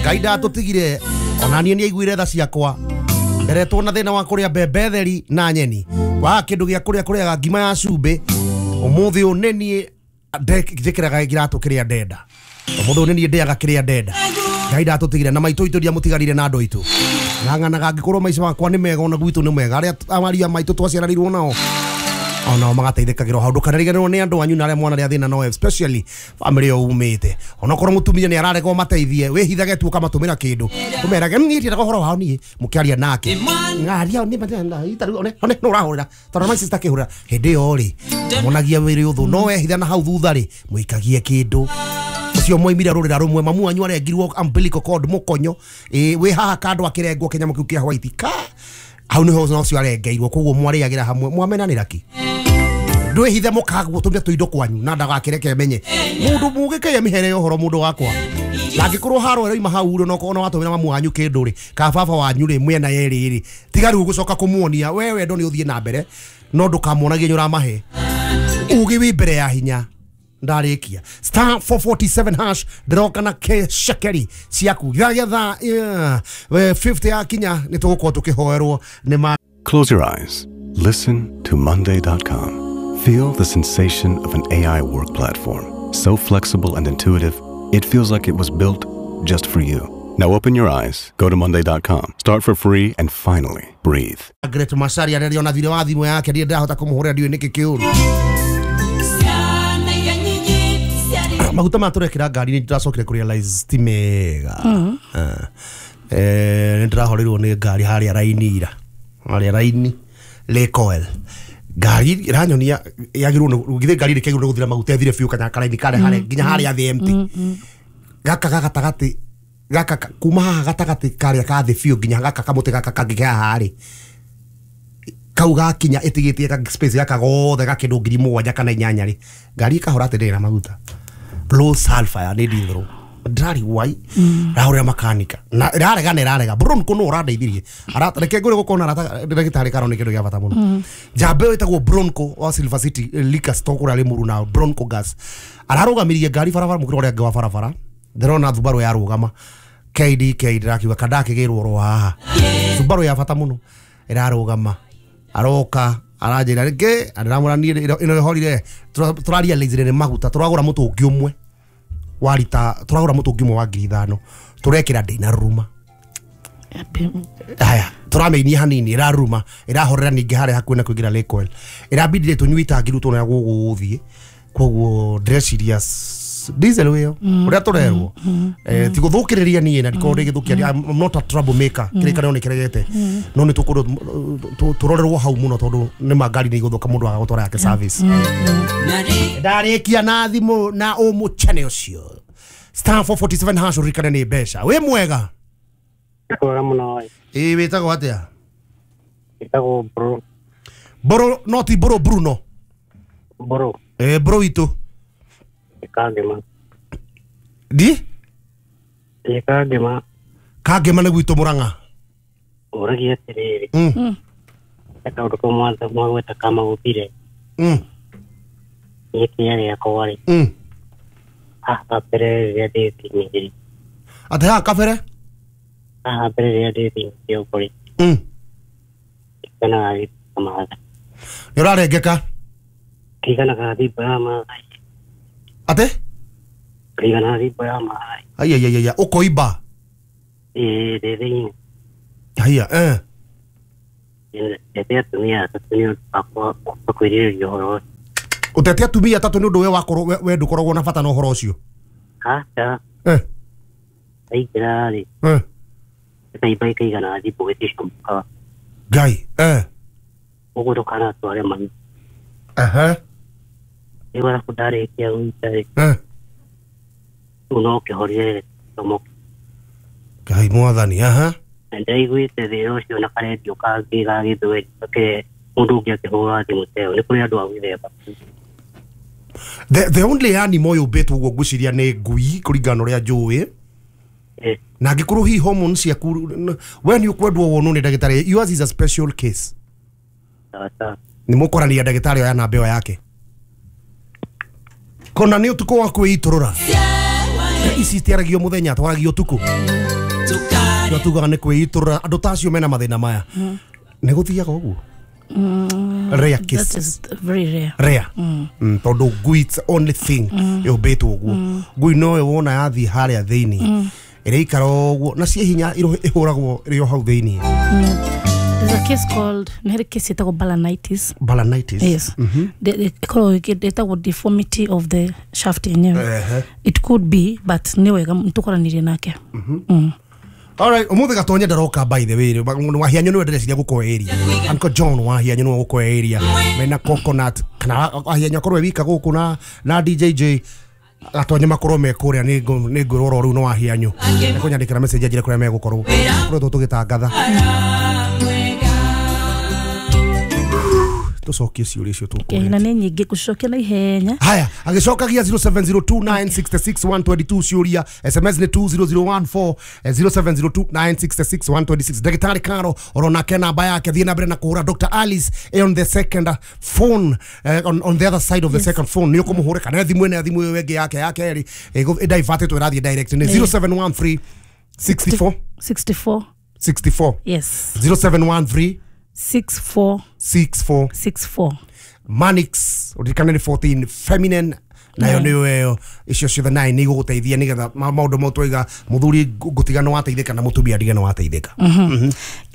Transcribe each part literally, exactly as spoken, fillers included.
Ngai ndatũtigire ona niĩ nĩaiguire tha ciakwa. Nderetwo na thĩna wa kũrĩa mbembe theri na nyeni. Waga kĩndũ gĩa kũrĩa kũrĩaga ngima ya cumbĩ. Ũmũthĩ ũyũ nĩ niĩ njĩkĩraga kĩratũ kĩrĩa ndenda. Ũmũthĩ ũyũ nĩ niĩ ndĩaga kĩrĩa ndenda. Ngai ndatũtigire na maitũ itũ ndiamũtigarire na andũ aitũ. Ng'ang'anaga angĩkorwo maica makwa nĩ mega ona gwitũ nĩ mega. Arĩa aria maitũ twaciaranirwo nao onao magateithĩkagĩrwo hau. Ndũkanariganĩrwo nĩ andũ anyu na arĩa mwana arĩa thĩna nao, especially family ĩyo umĩte. Onokorwo mũtumia nĩ ararega ũmateithie, wĩhithage tu ũkamatũmĩra kĩndũ. Ũmerage niĩ ndiendaga ũhoro wao niĩ, mũkĩaria nake. Ngaria nĩ one one no ũrahũrĩra tondũ my sister akĩhũrĩra hĩndĩ ĩyo rĩ monagia wĩrĩ ũthũ no wehitha na hau thutha rĩ mũikagie kĩndũ. Ũcio mwaimire rũrĩra rũmwe mamu wanyu arengirwo umbilical cord mũkonyo ĩ wĩ haha kando akĩrengwo kĩnyamũ kĩu kĩa white ka hau nĩho na ũcio arengeirwo koguo mwarĩagĩra hamwe mwamenanĩra ki ndwĩhithe mũkagũtũmia tũindo kwanyu na ndagakĩreke menye mũndũ mũgĩkĩye mĩhere ya ũhoro mũndũ wakwa na angĩkorwo haro ĩroima hau rĩ no ona watũmĩra mamu wanyu kĩndũ rĩ ka baba wanyu rĩ mwena yerĩ rĩ tiga rĩu gũcoka kũmuonia we wendo nĩ ũthiĩ na mbere no ndũkamuonagie nĩ ũramahe ũgĩ wĩ mbere ya hinya. Ndarĩkia star four forty-seven hash ndĩroka na shekeri ciaku gĩa thaa fifty ya kinya nĩ tũgũkorwo tũkĩhoerwo nĩ ma. Close your eyes. Listen to Monday dot com. Feel the sensation of an A I work platform. So flexible and intuitive, it feels like it was built just for you. Now open your eyes, go to Monday dot com, start for free, and finally breathe. Great Masaria nĩrĩona thirĩ wa thimũ yake ndiĩ ndahota kũmũhũrĩra ndiũĩ nĩkĩ kĩũru. Maguta ma tũrekĩra ngari nĩ ndĩracokire kũ realize ti mega. Eh, nĩ ndĩrahoreirwo nĩ ngari harĩa raini ira. Harĩa raini Lake Oil. Ngari ĩranyonia yagĩrĩirwo nĩ githĩ ngari rĩkĩagĩrĩirwo nĩ gũthira maguta ĩthire biũ kanya karaini kare harĩa nginya harĩa thĩ empty. Gaka ga gatagatĩ gaka kuma haha gatagatĩ karĩa ka thĩ biũ nginya gaka kamũtĩ gaka kangĩ ke haha rĩ kau gakinya ĩtigĩtie ka space gaka gothe gakĩndũ ngiri mũgwanja kana inyanya rĩ ngari ĩkahora atĩ ndĩrĩ na maguta. Low sulfur ya nĩ ndithũrũ ndĩrari wai rahũrĩra makanika na ĩrarega na ĩrarega Bronco no ũrandeithirie reke ngũrĩ gũkorwo na arata ndagĩtarĩ karo nĩ kĩndũ gĩa bata mũno. Njamba ĩyo ĩtagwo Bronco wa Silver City Liquor Store kũrĩa Limuru na Bronco Gas ararũgamirie ngari barabara mũkĩra ũrĩa ũngĩ wa barabara ndĩrona Subaru yarũgama K D K ndĩrakiuga kandakĩgĩrwo oro haha Subaru ya bata mũno ĩrarũgama aroka aranjĩra rĩngĩ ndĩramwĩra niĩ ĩno ĩhorire tũrarealize nĩ maguta tũragũra mũtũngi ũmwe wa rita turagura mutungi umwe wa ngiri ithano turekira ndina ruma haya turameinia hanini iraruma irahorera ningi haria hakuhi na kuingira Lake Oil irabindire tunyui tangi riu tuona guguthie koguo ndreciria diesel wiyo uria turerwo eh ti guthukiriria nie na ndikorwo ndigithukia. I'm not a trouble maker kirikaniro ni kiregete no ni tukorwo turorerwo hau muno tondu ni mangari ni iguthuka mundu aga gutwara yake service. Ndarikia na thimu na umuchane ucio star four forty-seven hash urikane ni mbeca wi mwega mwega muno. Ĩ wĩtagwo atĩa? Wĩtagwo Bro. Bro no ti Bro Bruno. Bro. Eh bro witũ Kangema. Di? Ĩ Kangema. Kangema nĩ gwitũ Murang'a. Ũragia atĩrĩrĩ. Mm. Kaũndũ kau mwagweta kamaguthire. Mm. Gĩkĩnya gĩakwa rĩ. Mm. Haha kabere rĩrĩa ndĩ thĩinĩ. Atĩ haha kabere? Haha mbere rĩrĩa ndĩ thĩinĩ kĩongo rĩ. Mm. Kĩiganaga thimba Maathai. Nĩ ũrarengeka? Kĩiganaga thimba ya Maathai. Atĩ? Kĩiganaga thimba ya Maathai. Ai ai ai ai ũkoimba? Ĩĩ ndĩ thĩinĩ. Haiya eh. Ndete atumia atatũ nĩ ũndũ wakwa kwĩrirĩria ũhoro ũcio. Ũtete atumia atatũ nĩ ũndũ we wakorwo we ndũkoragwo na bata na ũhoro ũcio? Aca. Eh. Ndaingĩra rĩ. Eh. Ĩkaimba ĩkaigana thimũ gĩticamũkaga. Ngai eh. Ũguo ndũkanatware mami. Ehe. Rĩu arabu ndarĩkia gũita rĩ. Eh. Rĩu no kĩhorire gĩcomoke. Ngai mwathani aha. Na ndĩraiguĩte thĩna ũcio na karendio kangĩ ga gĩthweri ke mũndũ ũngĩ akĩhũra thimũ ta ĩyo nĩ kũrĩ andũ a mĩthemba. The, the only animal yũmbĩtwo ũguo ngwĩciria nĩ ngui kũringana na ũrĩa njũĩ. Na angĩkorwo hihi hormones ciaku we nĩ ũkwendwo wonwo nĩ ndagĩtarĩ, yours is a special case. Nĩ mũkwarania ndagĩtarĩ oya namba ĩyo yake kona nĩ ũtukũ wa kwĩitũrũra ici itiaragio mũthenya twaragio ũtukũ. Tugaga nĩ kwĩitũrũra andũ ta acio mena mathĩna maya nĩ gũthiaga ũguo. Rare case. That is very rare. Rare. Mm. Tondũ ngui it's only thing yũmbĩtwo ũguo. Ngui no wona yathiĩ harĩa thĩinĩ ĩrĩikara ũguo na ciĩ hinya ĩhũragwo ĩrĩ o hau thĩinĩ. There's a case called nĩ harĩ case ĩtagwo balanitis. Balanitis. Yes. Ĩkoragwo ĩtagwo deformity of the shaft yenyewe. It could be, but nĩ wega tũkoranĩrie nake. All right, umuthi gatonye ndaroka, by the way wahianyo niwe ndĩreciria gũkorwo area. Uncle John wahianyo niwe gũkorwo area mena coconut kana wahianyo akorwo wika gũkũ na na D J J gatonye makorwo me kũrĩa nĩ nĩ ngwĩrwo rĩu no wahianyo nĩkũnyandĩkĩra message anjĩre kũrĩa megũkorwo kũrĩa tũgĩtangatha tũcokie ciũria icio tũkũria. Na nĩ nyingĩ gũcokia na ihenya. Haya, agĩcokagia zero seven zero two nine six six one two two ciũria, S M S nĩ two zero zero one four, zero seven zero two nine six six one two six. Ndagĩtarĩ Karo oronake namba yake, thiĩ na mbere na kũhũra. Doctor Alice eh, on the second phone, eh, on, on the other side of the yes. second phone nĩ ũkũmũhũre kana thimũ ĩno, thimũ ĩyo ĩngĩ yake ya kerĩ ĩdaivatĩtwo ĩrathiĩ direct nĩ zero seven one three sixty-four sixty-four. sixty-four. Yes. zero seven one three sixty-four. sixty-four. sixty-four. Manix uririkane nĩ fourteen feminine nayo nĩyo ĩyo icio ciothe nine nĩ igũgũteithia nĩgetha maũndũ mau twaiga mũthuri ngũtiga nĩ wateithĩka na mũtumia ndige nĩ wateithĩka.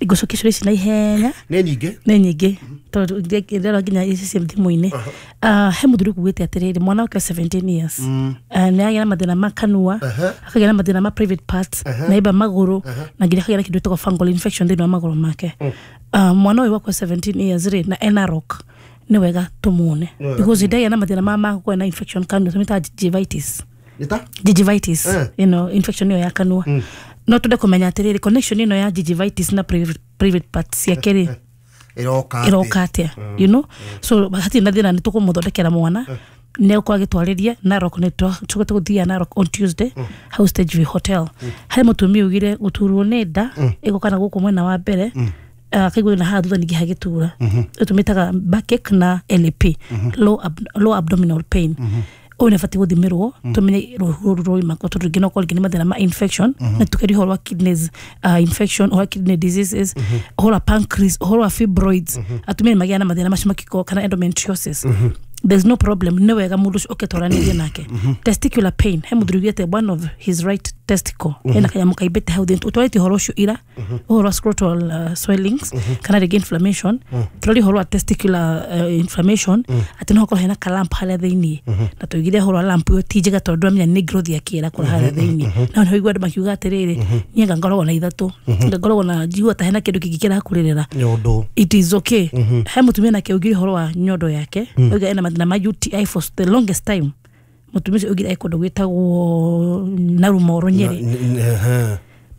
Ngũcokia ciũria ici na ihenya. Nĩ nyingĩ. Nĩ nyingĩ tondũ ndĩrona nginya ici ciĩ thimũ-inĩ. He mũthuri kugĩte atĩrĩrĩ, mwana wake seventeen years nĩ agĩa na mathĩna ma kanua, akagĩa na mathĩna ma private parts na imba magũrũ na nginya akagĩa na kĩndũ gĩtagwo fungal infection thĩinĩ wa magũrũ make. Mwana ũyũ wakwa seventeen years rĩ na ena rock, nĩ wega tũmuone because ndagĩa na mathĩna ma ma na infection kanua tũmĩtaga gingivitis. Nĩta? Gingivitis, you know infection ĩyo ya kanua. No twende kũmenya atĩrĩrĩ, connection ĩno ya gingivitis na private, private parts ciake rĩ ĩroka ĩroka atĩa you know So hatirĩ na thĩna, nĩ tũkũmũthondekera mwana nĩ egũkorwo agĩtwarĩria Narok, nĩ tũgũthiĩ gũthiĩ Narok on Tuesday hau Stage View Hotel. Harĩ mũtumia ugire gũturwo nĩ nda ĩgoka na gũkũ mwena wa mbere, akaigua na haha thutha ningĩ hagĩtura, tũmĩtaga backache na L A P, low, ab, low abdominal pain. Ũyũ nĩ abatiĩ gũthimĩrwo tũmenye rũhu rũrũ rwauma kũ, tondũ rĩngĩ no korwo rĩngĩ nĩ mathĩna ma infection na tũkeria ũhoro wa kidneys uh, infection, ũhoro wa kidney diseases, ũhoro wa pancreas, ũhoro wa fibroids. Atumia nĩ magĩaga na mathĩna macio makĩkorwo kana endometriosis. There's no problem, nĩ wega mũndũ ũcio oke twaranĩrie nake. Testicular pain, he mũthuri ugĩte one of his right testicle hena kanyamũ kaimbĩte hau thĩinĩ. Twarĩtie ũhoro ũcio ira, ũhoro wa scrotal uh, swellings kana rĩngĩ inflammation. Tũraria ũhoro wa testicular uh, inflammation atĩ no hakorwo hena kalamp harĩa thĩinĩ, na tũigire ũhoro wa lamp ĩyo ti njega tondũ ndũramenya nĩ growth ya kĩra kũra harĩa thĩinĩ. Na nĩ ũigua andũ makiuga atĩrĩrĩ, niĩ nga ngoragwo na ithatũ, nga ngoragwo na njigua ta hena kĩndũ kĩngĩ kĩrakũrĩrĩra. Nyondo. It is okay. He mũtumia nake ugire ũhoro wa nyondo yake, oiga ena mathĩna ma U T I for the longest time. Mũtumia ũcio ugire e kũndũ gwĩtagwo Narumoro, Nyeri.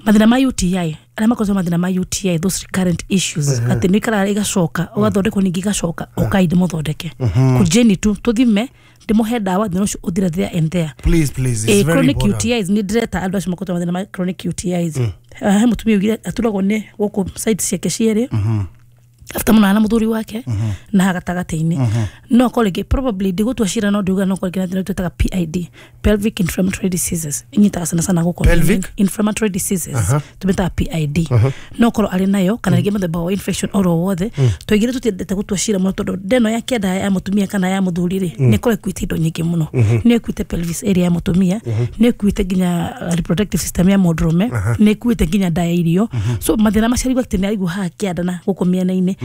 Mathĩna ma U T I, arĩa makoragwo mathĩna ma U T I, those recurrent issues atĩ nĩ ikaraga igacoka, ũgathondekwo ningĩ igacoka, ũkai ndĩmũthondeke kũjeni tu tũthime, ndĩmũhe ndawa, thĩna ũcio ũthire there and there. Please, please, it's eh, very chronic important. U T Is, nĩ ndĩreta andũ acio makoragwo mathĩna ma chronic U T Is. He mũtumia ugire aturagwo nĩ gũkũ side ciake cierĩ after mũnana na mũthuri wake na gatagatĩ-inĩ. No akorwo rĩngĩ probably ndigũtua cira, no ndiuga no akorwo rĩngĩ na thĩna twĩtaga P I D, pelvic inflammatory diseases, inyitaga sana sana gũkũ. Pelvic? Inflammatory diseases tũmĩtaga P I D. No akorwo arĩ nayo kana rĩngĩ mũthemba wa infection oro wothe. Twaigire tũtiendete gũtua cira mũno tondũ ndeno ya kĩanda ya mũtumia kana ya mũthuri rĩ nĩ ĩkorwo ĩkuĩte indo nyingĩ mũno. Nĩ ĩkuĩte pelvis area ya mũtumia, nĩ ĩkuĩte nginya uh, reproductive system ya mũndũrũme, nĩ ĩkuĩte nginya nda ya irio. So mathĩna macio arigua atĩ nĩ araigua haha kĩanda na gũkũ mĩena-inĩ,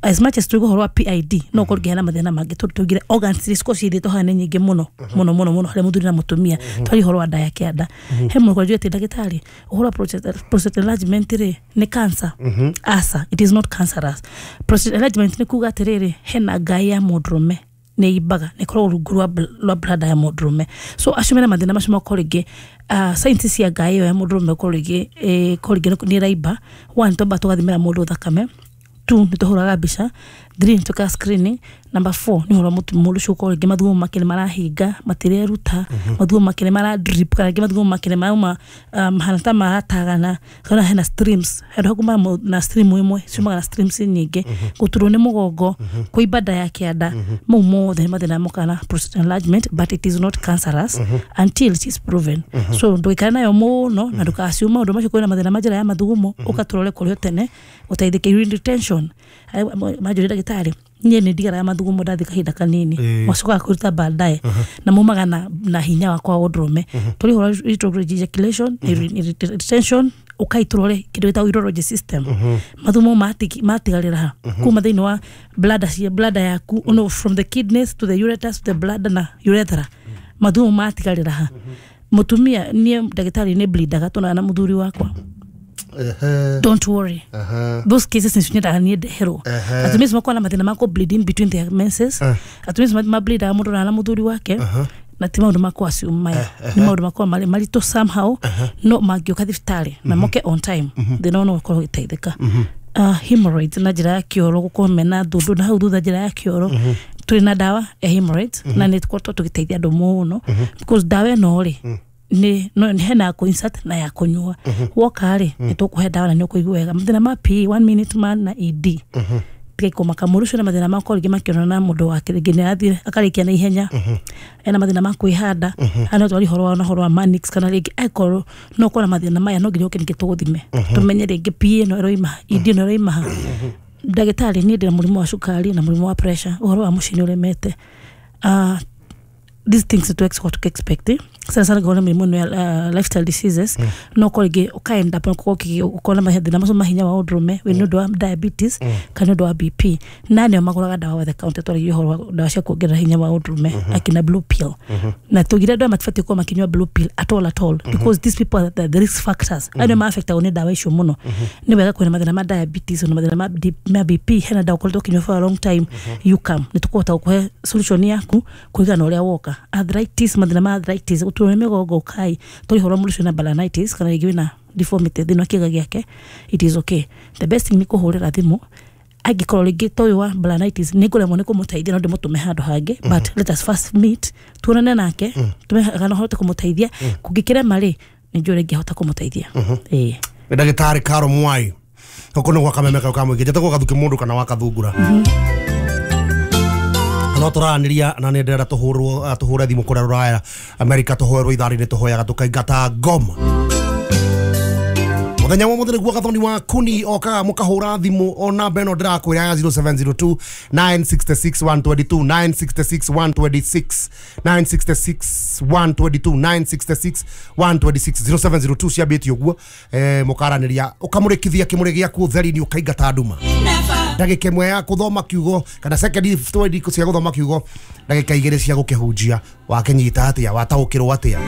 as much as tuiga ũhoro wa P I D, no ũkorwo ngĩheana mathĩna mangĩ tondũ tũigire organs iria cikorwo ciithĩtwo haha nĩ nyingĩ mũno mũno mũno mũno harĩ mũthuri na mũtumia. Twari ũhoro wa nda ya kĩanda, he mũndũ kwanjia atĩ ndagĩtarĩ, ũhoro wa prostate prostate enlargement rĩ nĩ cancer? Aca, it is not cancerous. Prostate enlargement nĩ kuga atĩrĩrĩ, hena ngai ya mũndũrũme nĩ imbaga nĩ ĩkoragwo rungu rwa bl- rwa bladder ya mũndũrũme. So acio mena mathĩna macio makorwo rĩngĩ uh, signs cia ngai ĩyo ya mũndũrũme korwo rĩngĩ eh, korwo rĩngĩ nĩ ĩraimba. One, twamba tũgathimĩra mũndũ thakame. Two, nĩ tũhũraga mbica. Three, nĩ twĩkaga screening. Number four nĩ ũhoro mũndũ ũcio ũkorwo rĩngĩ mathugumo make nĩ marahinga matireruta, mathugumo make nĩ mara drip, kana rĩngĩ mathugumo make nĩ marauma mahana ta maratagana, kana hena streams handũ hakuuma na stream ĩmwe ciumaga na streams nyingĩ, gũturwo nĩ mũgongo, kũimba nda ya kĩanda, mau mothe nĩ mathĩna mokaga na prostate enlargement, but it is not cancerous until it is proven. So ndũgaikare nayo mũno na ndũkaciume maũndũ macio kwĩna mathĩna ma njĩra ya mathugumo, ũgatũrore kũrĩ o tene ũteithĩke. Urine retention, manjũria ndagĩtarĩ niĩ nĩ ndigaraga mathugumo ndathi kahinda kanini, macokaga kwĩruta baadaye na maumaga na, na hinya wakwa wa ũndũrũme. Tũrĩ ũhoro retrograde ejaculation, urine retention, ũkaitũrore kĩndũ gĩtagwo urology system, mathugumo matigarĩra ha kuma thĩinĩ wa bladder cia bladder yaku, no, from the kidneys to the ureters to the bladder na urethra, mathugumo matigarĩra ha. Mũtumia niĩ ndagĩtarĩ nĩ bleedaga tũnana na mũthuri wakwa. Don't worry, those cases nĩ nyendaga niĩ ndeherwo. Atumia makoragwo na mathĩna ma kũ bleeding between their menses, atumia ma bleedaga mũndũ na mũthuri wake, na ti maũndũ ma kũ assume maya nĩ maũndũ makoragwo marĩ maritũ somehow, no mangĩũka thibitarĩ na moke on time thĩna no ũkorwo ũgĩteithĩka. Uh, hemorrhoids na njĩra ya kĩoro, gũkorwo mena thundu na hau thutha njĩra ya kĩoro, tũrĩ na ndawa ya hemorrhoids na nĩ tũkoretwo tũgĩteithia andũ mũno, because ndawa ĩno rĩ nĩ no nĩ hena ya kũ-insert na ya kũnyua. Woka rĩ nĩ tũkũhe ndawa na nĩ ũkũigua wega. Mathĩna ma P E one minute man na E D, tigai kũmaka mũndũ ũcio na mathĩna ma korwo rĩngĩ makĩonana na mũndũ wake rĩngĩ nĩ athire akarĩkia na ihenya, ena mathĩna ma kwĩhanda, no twari ũhoro wa ũhoro wa manix, kana rĩngĩ angĩkorwo no ũkorwo na mathĩna maya no nginya ũke ningĩ tũgũthime tũmenye rĩngĩ P E ĩno ĩroima, E D ĩno ĩroima ha. Ndagĩtarĩ niĩ ndĩna mũrimũ wa cukari na mũrimũ wa pressure, ũhoro wa mũciĩ nĩ ũremete. Uh, these things to expect to expect sana sana gona mĩrimũ ĩno ya uh, lifestyle diseases, no korwo rĩngĩ ũkaenda ũkona mathĩna macio ma hinya wa ũndũrũme wĩ nĩ ũndũ wa diabetes kana nĩ ũndũ wa B P, na nĩo magũraga ndawa over the counter, twaragia ũhoro wa ndawa cia kuongerera hinya wa ũndũrũme akina blue pill, na tugire andũ aya matibatiĩ gũkorwo makĩnyua blue pill at all at all, because these people are the, the risk factors, andũ ma-affectagwo nĩ ndawa icio mũno. Nĩ wega kwĩna mathĩna ma diabetes na mathĩna ma, ma B P, hena ndawa ũkoretwo ũkĩnyua for a long time, you come nĩ tũkũhota gũkũhe solution yaku kũringana na ũrĩa woka. Arthritis, mathĩna ma arthritis, gũturwo nĩ mĩgongo, kai tũrĩ ũhoro mũndũ ũcio na balanitis kana rĩngĩ wĩna deformity thĩinĩ wa kĩĩga gĩake, it is okay. The best thing nĩ kũhũrĩra thimũ, angĩkorwo rĩngĩ ta ũyũ wa balanitis nĩ ngũremwo nĩ kũmũteithia no ndĩmũtũme handũ hangĩ, but let us first meet tuonane nake tumenye kana hote kũmũteithia, kũngĩkĩrema rĩ nĩ njũĩ rĩngĩ hota kũmũteithia. Ĩĩ nĩ ndagĩtarĩ Caro Mwai gũkũ nĩ gwa Kameme kau ka mũingĩ, njĩtagwo Gathuki mũndũ kana wa Kathungura, no tũraranĩria na nĩ ndĩrenda tũhũrwo tũhũre thimũ kũrĩa rũraya America, tũhoerwo ithaa rĩrĩ tũhoyaga tũkaingata ngoma mũthenya wa mũthĩ nĩguo Gathoni wa Kuni okaga mũkahũra thimũ o namba ĩno ndĩrakwĩra ya zero seven zero two nine six six one two two nine six six one two six nine six six one two two nine six six one two six zero seven zero two ciambĩtie ũguo, eh, mũkaranĩria ũkamũrĩkithia kĩmũrĩ gĩaku ũtheri-inĩ ũkaingata nduma ndagĩka ĩmwe ya kũthoma kiugo kana second twenty cia gũthoma kiugo, ndagĩka igĩrĩ cia gũkĩhunjia, wakĩnyita atĩa, wataũkĩrwo atĩa.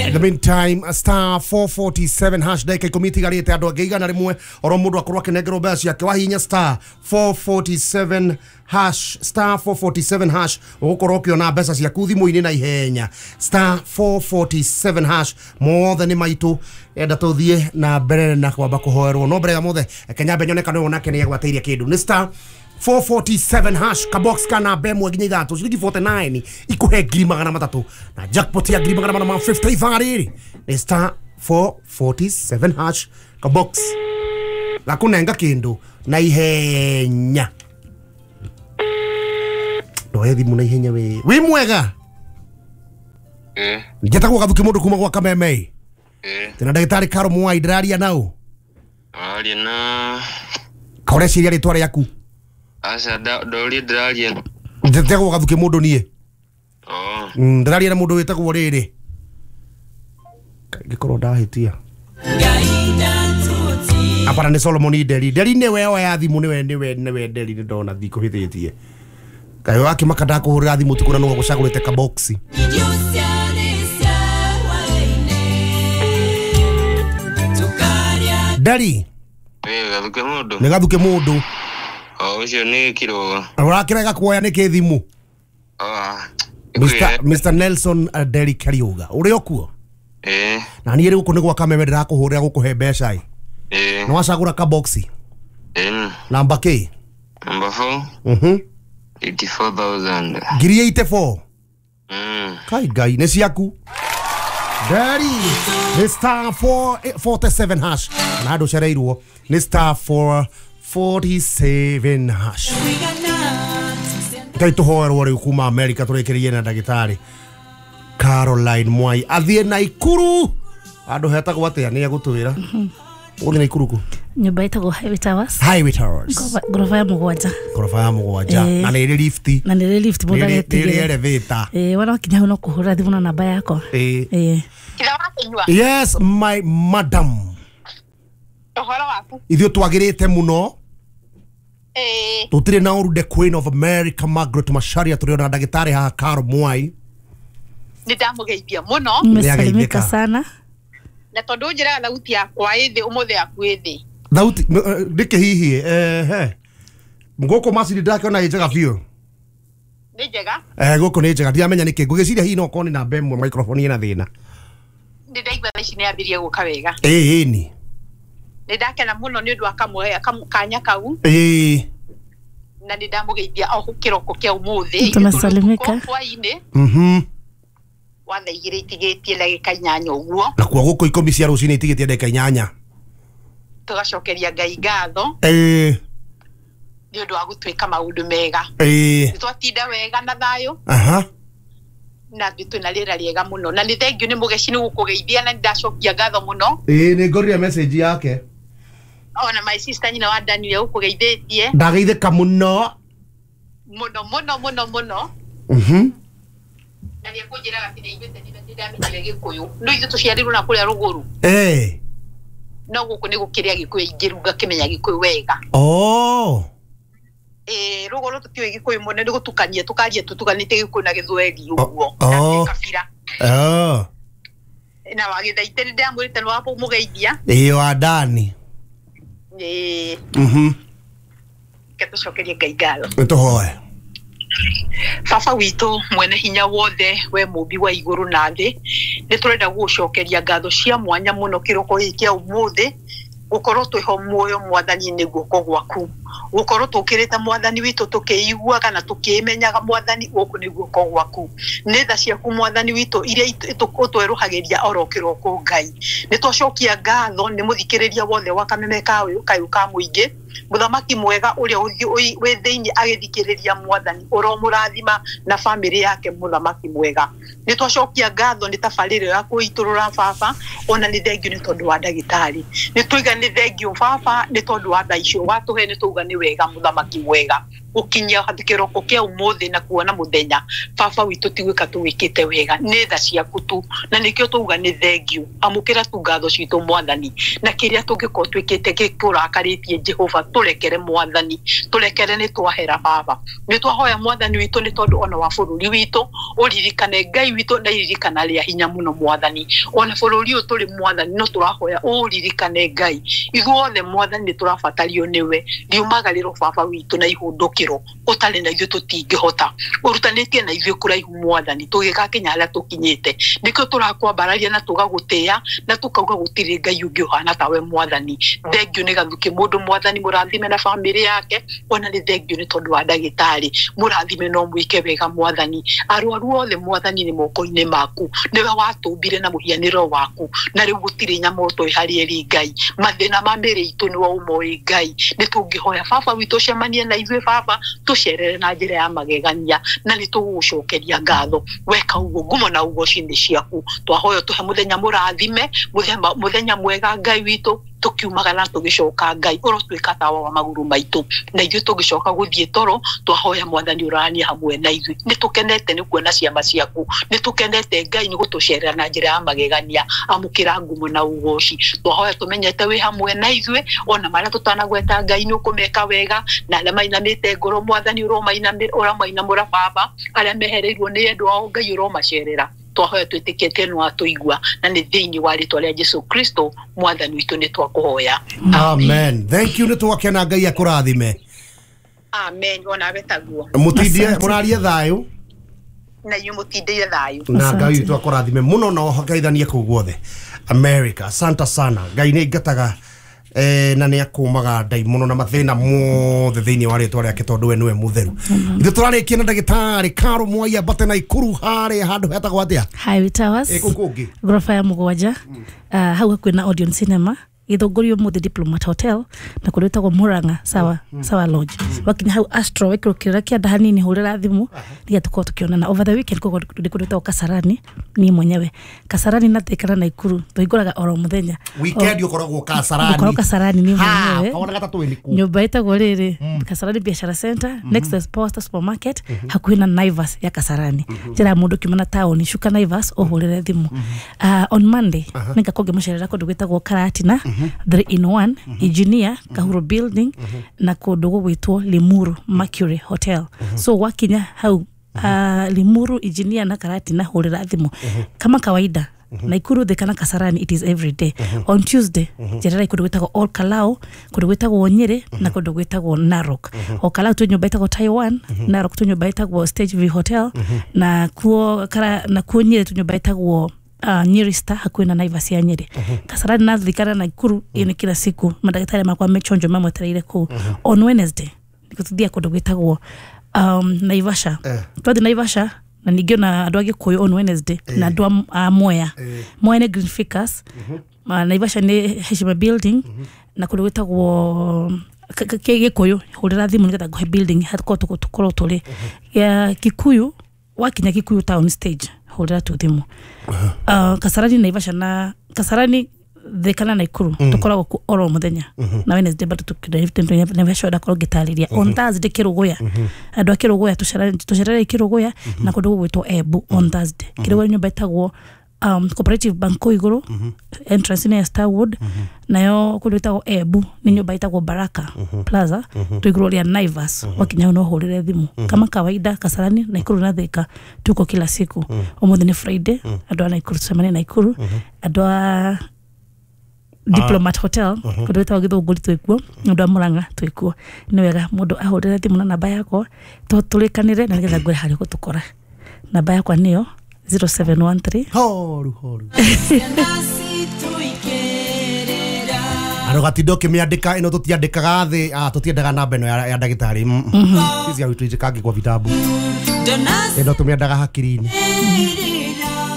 In the meantime, star four forty-seven hash ndagĩka ikũmi itigarĩte andũ angĩ igana rĩmwe oro mũndũ akorwo akĩnengerwo mbeca ciake, wahihinya star four forty-seven hash star four forty-seven hash ũgũkorwo ũkĩona mbeca ciaku thimũ-inĩ na ihenya. Star four forty-seven hash mothe nĩ maitũ, enda tũthiĩ na mbere na kwamba kũhoerwo, no mbere ya mothe reke nyambe nyone kana ũyũ nake nĩ agwatĩirie kĩndũ. Nĩ star four forty-seven hash kabox kana namba ĩmwe nginya ithatũ ciringi forty-nine ikuhe ngiri magana matatũ na jackpot ya ngiri magana mana ma fifty ithaa rĩrĩ nĩ star four forty-seven hash kabox gakũnenga kĩndũ na ihenya. Ndoe thimũ na ihenya we wĩ mwega. Eh njĩtagwo Gathuki mũndũ kuma gwa Kameme. Eh tena ndagĩtarĩ Caro Mwai ndĩraria nao. Aria na kaũreciria rĩtwa rĩaku. Aca ndũria ndĩraria. Njĩtagwo Gathuki mũndũ niĩ. Oh. Ndĩraria na mũndũ wĩtagwo rĩrĩ ngĩkorwo ndahĩtia apana nĩ Solomon Nderi. Nderi nĩwe oya thimũ, nĩwe nĩwe nĩwe Nderi nĩ ndona thikũhĩtĩtie kaĩ wakĩmaka ndakũhũrĩra thimũ ũtukũ na nĩwe ũgũcagũrĩte kaboxi. Nderi Wĩ Gathuki mũndũ. Nĩ Gathuki mũndũ. O ũcio nĩ Kĩrũga. Ũrakĩrega kuoya nĩkĩ thimũ? Ah, Mister Mister Nelson Nderi Kariuga ũrĩ o kuo? Eh. Na niĩ rĩ gũkũ nĩ gwa Kameme ndĩrakũhũrĩra gũkũhe mbeca ĩ. Eh. Nĩ wacagũra kaboxi? Ĩni. Namba kĩ? Number four. Mhm. eighty-four thousand. Ngiri eighty-four. Mm. Kai Ngai nĩ ciaku. Daddy, nĩ star four forty-seven hash. Na andũ cereirwo nĩ star four forty-seven hash. Ngai tũhoerwo rĩu kuma America tũrĩkĩrĩrie na ndagĩtarĩ Caroline Mwai athiĩ Naikuru. Andũ hetagwo atĩa nĩ egũtwĩra. Ũgũthiĩ Naikuru kũ? Nyũmba ĩtagwo Highway Towers. Highway Towers. Ngoroba ya mũgwanja. Ngoroba ya mũgwanja. Na nĩ ĩrĩ lift. Na nĩ ĩrĩ lift mũndũ Nĩ ĩrĩ elevator. Eh, wana wakinya hau no kũhũra thimũ na namba yakwa. Eh. Eh. Yes, my madam. Ũhoro waku? Ithuĩ twagĩrĩte mũno. Eh. Tũtirĩ na ũru, the Queen of America Margaret Macharia, tũrĩ ona ndagĩtarĩ haha Caro Mwai. Nĩ ndamũgeithia mũno. Nimesalimika sana. Na tondũ njĩraga thauti yakwa ĩ thĩ ũmũthĩ yaku ĩ thĩ. Thauti ndĩkĩ hihi eh ngũkũ macini ndakĩona ĩ njega biũ. Nĩ njega? Eh gũkũ nĩ njega, ndiramenya nĩkĩ ngũgĩciria hihi no okorwo nĩ namba ĩmwe microphone ĩna thĩna. Nĩ ndaigua thaa ici nĩ yambĩrĩria gũka wega. Ĩĩ ĩni. Nĩ ndakena mũno nĩ ũndũ wa kamwe kanya kau. Ĩĩ. Na nĩ ndamũgeithia o kĩroko kĩa ũmũthĩ. Tunasalimika. Hwaĩ-inĩ. Mhm. Wa thaa igĩrĩ itigĩtie ndagĩka inyanya ũguo. Nakuo gũkũ ikũmi cia rũcinĩ itigĩtie ndagĩka inyanya. Tũgacokeria Ngai ngatho. Ĩĩ. Nĩ ũndũ wa gũtwĩka maũndũ mega. Ĩĩ. Nĩ twatinda wega na thayũ. Aha. Na twĩna rĩera rĩega mũno. Na nĩ thengiũ nĩ mũgeci nĩ gũkũgeithia na nĩ ndacokia ngatho mũno. Ĩĩ nĩ ngorire message yake. Ona my sister nyina wa Daniel ũkũgeithĩtie. Ndageithĩka mũno. Mũno mũno mũno mũno. Mhm. Na nĩ ekũnjĩraga atĩ nĩ aiguĩte nĩ ndamenyire Gĩkũyũ. No ithuĩ tũciarirwo na kũrĩa rũgũrũ. Ĩĩ. No gũkũ nĩ gũkĩrĩa Gĩkũyũ aingĩ rĩu ngakĩmenya Gĩkũyũ wega. Oh. Ĩĩ rũgũrũ tũtiũĩ Gĩkũyũ mũno nĩ gũtukania tũkaria tũtukanĩte Gĩkũyũ na Gĩthweri ũguo. Oh. Kabira. Oh. Na wagĩthaite nĩ ndamwĩrĩte nĩ wamũgeithia. Ĩĩ wa Dani. Ĩĩ. Mhm. Reke tũcokerie Ngai ngatho. Nĩ tũhoe. Baba witũ mwene hinya wothe we mũmbi wa igũrũ na thĩ, nĩ tũrenda gũgũcokeria ngatho cia mwanya mũno kĩroko gĩkĩ kĩa ũmũthĩ, gũkorwo twĩho muoyo mwathani nĩ guoko gwaku, gũkorwo tũkĩrĩte mwathani witũ tũkĩiguaga na tũkĩmenyaga mwathani gũkũ nĩ guoko gwaku, nĩ tha ciaku mwathani witũ iria ũtwerũhagĩria oro kĩroko Ngai. Nĩ twacokia ngatho nĩ mũthikĩrĩria wothe wa kameme kayũ kayũ ka mũingĩ, mũthamaki mwega ũrĩa wĩ thĩinĩ agĩthikĩrĩria mwathani ũromũrathima na bamĩrĩ yake mũthamaki mwega. Nĩ twacokia ngatho nĩ tabarĩra ya kũitũrũra baba, ona nĩ thengio nĩ tondũ wa ndagĩtarĩ. Nĩ twaiga nĩ thengio baba nĩ tondũ wa tha icio watũhe, nĩ twauga nĩ wega mũthamaki mwega gũkinyia kĩroko kĩa ũmũthĩ na kuona mũthenya baba witũ ti gwĩka tũwĩkĩte wega, nĩ tha ciaku tu na nĩkĩo twauga nĩ thengio. Amũkĩra tu ngatho citũ mwathani, na kĩrĩa tũngĩkorwo twĩkĩte gĩkũrakarĩtie Jehova tũrekere mwathani, tũrekere nĩ twahera baba. Nĩ twahoya mwathani witũ nĩ tondũ ona wa bũrũri witũ ũririkane Ngai witũ na iririkana rĩa hinya mũno mwathani, ona bũrũri ũyũ tũrĩ mwathani no tũrahoya ũririkane Ngai ithuothe mwathani nĩ tũrabatario nĩwe, riumagarĩro baba witũ na ihũndũkĩro ũtarĩ na ithuĩ tũtingĩhota, ũrutanĩtie na ithuĩ kũraihu mwathani tũgĩgakinya harĩa tũkinyĩte, nĩkĩo tũrakwambararia na tũgagũtĩĩa na tũkauga gũtirĩ Ngai ũngĩ ũhana tawe mwathani. Thengio nĩ Gathukĩ mũndũ mwathani mũrathime na bamĩrĩ yake, ona nĩ thengio nĩ tondũ wa ndagĩtarĩ mũrathime no mwĩke wega mwathani. Arwaru othe mwathani nĩ moko-inĩ maku, nĩwe watũmbire na mũhianĩro waku, na rĩu gũtirĩ nyamũ ũtoĩ harĩ ĩrĩ Ngai. Mathĩna ma mĩĩrĩ itũ nĩwe ũmoĩ Ngai, nĩ tũngĩhoya baba witũ ũcemanie na ithuĩ baba, tũcerere na njĩra ya magegania na nĩ tũgũgũcokeria ngatho. Weka ũguo ngumo na ũgoci nĩ ciaku. Twahoya tũhe mũthenya mũrathime, mũthenya mwega Ngai witũ, tũkiumaga na tũgĩcoka Ngai ũrotuĩka tawa wa magũrũ maitũ, na ithuĩ tũgĩcoka gũthiĩ toro twahoya mwathani ũraranie hamwe na ithuĩ. Nĩ tũkenete nĩ kuona ciama ciaku, nĩ tũkenete Ngai nĩ gũtũcerera na njĩra ya magegania. Amũkĩra ngumo na ũgoci. Twahoya tũmenyete wĩ hamwe na ithuĩ, ona marĩa tũtanagweta Ngai nĩ ũkũmeka wega, na arĩa mainamĩte ngoro mwathani ũromainamũra baba, arĩa mehereirwo nĩ endwa ao Ngai ũromacerera. Twahoya twĩtĩkĩtie nĩ watũigua, na nĩ thĩinĩ wa rĩtwa rĩa Jesu Kristo mwathani witũ nĩ twakũhoya. Amen. Thank you, nĩ twakena Ngai akũrathime. Amen. Onawe taguo. Mũtindie mũrarie thayũ. Na inyuĩ mũtindĩire thayũ. Na Ngai witũ akũrathime mũno na ũgaithanie kũu guothe America. Asante sana. Ngai nĩ aingataga eh, na nä akåmaga ndaimono na mathä mothe thä inä wa rä twa rä ake tondå we nä we må theru. Ithuä tå rarä kia na ndagätarä Karo Mwai ambate na Ikuru harä handå hetagwo atä a Highway Towers. Ä kå kå ngä goroba ya mũgwanja, uh, hau hakuhĩ na Odeon Cinema, Githũngũri ũmũthĩ Diplomat Hotel, na kũrĩa ĩtagwo Murang'a Sawa Sawa Lodge. Wakinya hau Astro wekĩrwo kĩrĩra kĩanda hanini hũrĩra thimũ nĩgetha tũkorwo tũkĩonana. Over the weekend koguo ndĩ kũndũ gwĩtagwo Kasarani niĩ mwenyewe. Kasarani na Thika na Naikuru tũhingũraga oro mũthenya. Weekend ũkoragwo Kasarani. Ũkoragwo Kasarani niĩ mwenyewe. Kawona gatatũ nĩ kũ? Nyũmba ĩtagwo rĩrĩ Kasarani Biashara Center, next to Posta Supermarket, hakuhĩ na Naivas ya Kasarani. Njĩra ya mũndũ kiuma na taũni cuka Naivas ũhũrĩre thimũ. Uh, on Monday nĩngakorwo ngĩmũcerera kũndũ gwĩtagwo Karatina three in one, Engineer Kahuro Building, na kũndũ gũgwĩtwo Limuru Mercury Hotel. So wakinya hau uh, Limuru, Engineer na Karatina hũrĩra thimũ. Kama kawaida Naikuru Thika na Kasarani it is every day. On Tuesday njerera kũndũ gwĩtagwo Ol Kalou, kũndũ gwĩtagwo Nyeri na kũndũ gwĩtagwo Narok. Ol Kalou twĩ nyũmba ĩtagwo Taiwan, Narok twĩ nyũmba ĩtagwo Stage V Hotel, na kuo kara na kuo Nyeri twĩ nyũmba ĩtagwo Uh, Nyeri Star hakuhĩ na Naivas ya Nyeri. Kasarani na Thika na Naikuru iyo nĩ kila siku mandagĩtarĩ makwa mechonjo mamwetereire kũu. On Wednesday nĩtũthiaga kũndũ gwĩtagwo um, Naivasha. Twathiĩ Naivasha na ningĩ ona andũ a Gĩkũyũ on Wednesday na andũ a Mwea. Mwea nĩ Green Ficus. Naivasha nĩ Heshima Building na kũndũ gwĩtagwo Gĩkũyũ hũrĩra thimũ nĩgetha ngũhe building hakorwo tũkorwo tũrĩ. Ya Kikuyu wakinya Kikuyu town stage hũrĩra tu thimũ. Uh, Kasarani Naivasha na Kasarani Thika na Naikuru tũkoragwo kuo oro mũthenya na Wednesday bado tukĩrĩa Naivasha ndakorwo ngĩtarĩria. On Thursday Kĩrũgũya, andũ a Kĩrũgũya tũcerere Kĩrũgũya na kũndũ gũgwĩtwo Embu on Thursday. Kĩrũgũya nyũmba ĩtagwo um, Cooperative Bank kũu igũrũ, entrance nĩ ya Starwood, nayo kũndũ ĩtagwo Embu nĩ nyũmba ĩtagwo Baraka Plaza twĩ igũrũ rĩa Naivas. Wakinya hau no ũhũrĩre thimũ. Kama kawaida Kasarani, Naikuru na Thika tuko kila siku. Ũmũthĩ nĩ Friday, andũ a Naikuru tũcemanie Naikuru, andũ a Diplomat Hotel kũndũ gwĩtagwo Githũngũri twĩkuo, andũ a Murang'a twĩkuo. Nĩ wega mũndũ ahũrĩre thimũ na namba yakwa tũrĩkanĩre na nĩgetha ngwĩre harĩa ũgũtũkora. Namba yakwa nĩyo zero seven one three. Horu horu. Andå gatinda å kä mä andä ka ä no tå tiandä kaga thä tå tiendaga namba ä no ya ndagätarä ici witå njäkangi kwa vitabu ä no tå mä andaga hakiri-inä.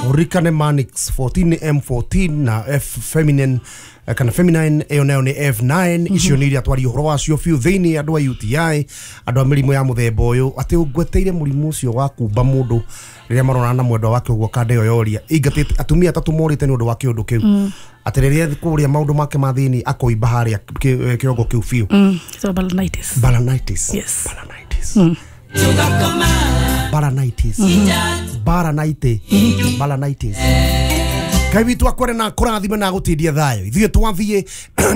Ũririkane Manix fourteen M fourteen na F feminine kana feminine ĩyo nayo nĩ F nine. Icio nĩ iria twaria ũhoro wacio biũ thĩinĩ andũ a U T I andũ a mĩrimũ ya mũthemba ũyũ atĩ ũngweteire mũrimũ ũcio wa kumba mũndũ rĩrĩa maronana na mwendwa wake ũguo kanda ĩyo yoria ingatĩte atumia atatũ morĩte nĩ ũndũ wa kĩũndũ kĩu atĩ rĩrĩa kũrĩa maũndũ make ma thĩinĩ akoimba harĩa kĩongo kĩu biũ. So balanitis. Balanitis. Yes. Balanitis. Balanitis. Balanitis. Balanitis. Ngai witũ akwere na kũrathime na gũtindia thayũ ithuĩ twathiĩ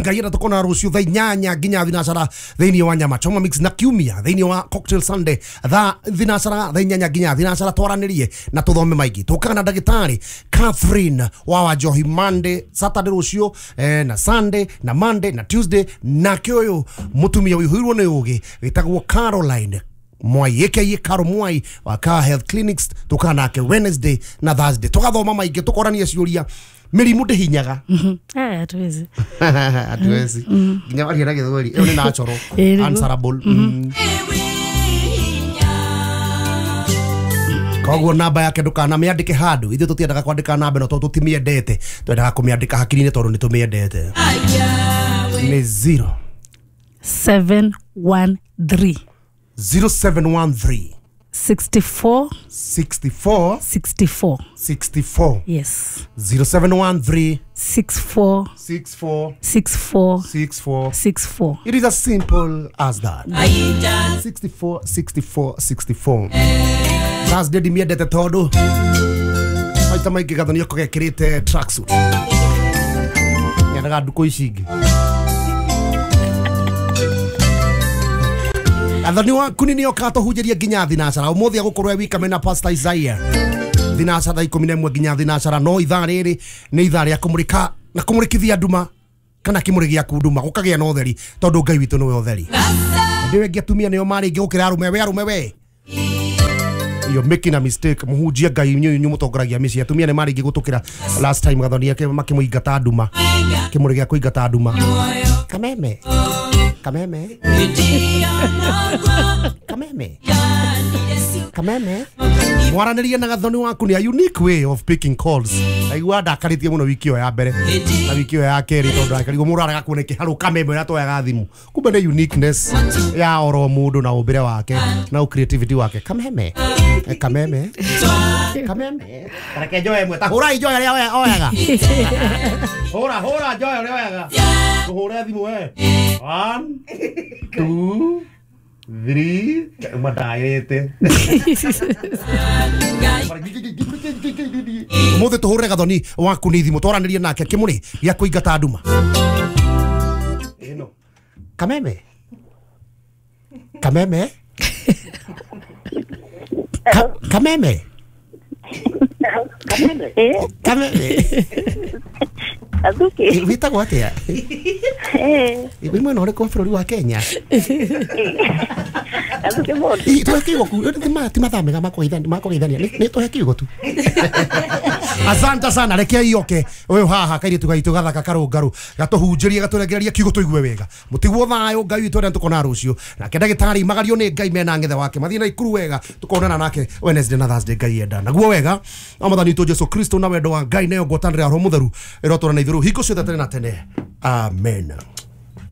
Ngai enda tũkona rũciũ thaa inyanya nginya thinacara thĩinĩ wa Nyama Choma Mix na kiumia thĩinĩ wa Cocktail Sunday thaa thinacara thaa inyanya nginya thinacara twaranĩrie na tũthome maingĩ tũkaga na ndagĩtarĩ Catherine wa Wanjohi Monday Saturday rũciũ eh, na Sunday na Monday na Tuesday nake ũyũ mũtumia ũihũirwo nĩ ũgĩ wĩtagwo Caroline Mwai aka Karo Mwai wa Car Health Clinics tukana nake Wednesday na Thursday tugathoma maingĩ tukorania ciũria mĩrimũ ndĩhinyaga. Eh, hatuwezi. Hatuwezi nginya waria na gĩthweri ĩyo nĩ natural answerable. Koguo namba yake ndũkana mĩandĩke handũ ithuĩ tũtiendaga kwandĩka namba ĩno tondũ tũtimĩendete twendaga kũmĩandĩka hakiri-inĩ tondũ nĩ tũmĩendete. Nĩ zero seven one three zero seven one three sixty-four sixty-four sixty-four sixty-four. Yes. zero seven one three six four six four six four six four six four. It is as simple as that. sixty-four sixty-four sixty-four. Thursday ndimiendete tondu maita maingĩ Gathoni okorwo ekĩrĩte tracksuit nyendaga ndukũ ici ingĩ. Athani waku nĩ oka tũhunjĩrie nginya thinacara ũmũthĩ agũkorwo e wika mena Pastor Isaiah thinacara thaa ikũmi na ĩmwe nginya thinacara no ithaa rĩrĩ nĩ ithaa rĩa kũmũrĩka na kũmũrĩkithia nduma kana kĩmũrĩ gĩaku nduma gũkagĩa na ũtheri tondũ Ngai witũ nĩwe ũtheri. Ndĩ wengi atumia nĩo marĩ aingĩ gũkĩra arũme we arũme we You're making a mistake. Muhunjia Ngai inyuĩ inyuĩ mũtongoragia mĩciĩ. Atumia nĩ marĩngĩ gũtũkĩra last time Gathoni ake makĩmũingata nduma. Kĩmũrĩ gĩa kũingata nduma. Kameme. Kameme. Kameme. Kameme. Mwaranĩria na Gathoni waku ni a unique way of picking calls. Aigua ndakarĩtie mũno wiki ĩyo ya mbere na wiki ĩyo ya kerĩ tondũ akarigwo mũndũ arega kuona kĩharũ kameme ũrĩa twoyaga thimũ. Kumbe nĩ uniqueness ya oro mũndũ na ũmbĩre wake na creativity wake. Kameme. Eh, Kameme. Kameme. Reke njoe ĩmwe. Ta hũrai njoe ũrĩa oya- oyaga. Hũra hũra njoe ũrĩa oyaga. Tũhũre thimũ we. One, two, three. Mandaĩte. Umuthi tuhurire Gathoni waku ni thimu twaranirie nake kimuri gia kuingata nduma. Ino. Kameme. Kameme. Ka Kameme. Eh, Kameme. Athuki. Witagwo atia? Eh, Wĩ mwena ũrĩkũ wa bũrũri wa Kenya? Athuki mũndũ. Ĩ, tũhe kiugo ku ti ma- ti mathaa mega ma kũgeithania ma kũgeithania nĩ nĩ tũhe kiugo tu. Asante sana reke ioke ũyũ haha kairĩtu gaitũ gathaka karũngarũ gatũhunjĩrie gatũrengererie kiugo tũigue wega mũtigwo thayũ Ngai witũ arĩa tũkona rũciũ nake ndagĩtarĩ magario nĩ Ngai mena ng'ethe wake mathiĩ na ikuru wega tũkonana nake Wednesday na Thursday Ngai enda naguo wega wa mwathani witũ Jesu Kristo na wendo wa Ngai nayo ngwatanĩro ya Roho Mũtheru ĩrotũra na ithuĩ rĩu hingo ciothe tene na tene amen.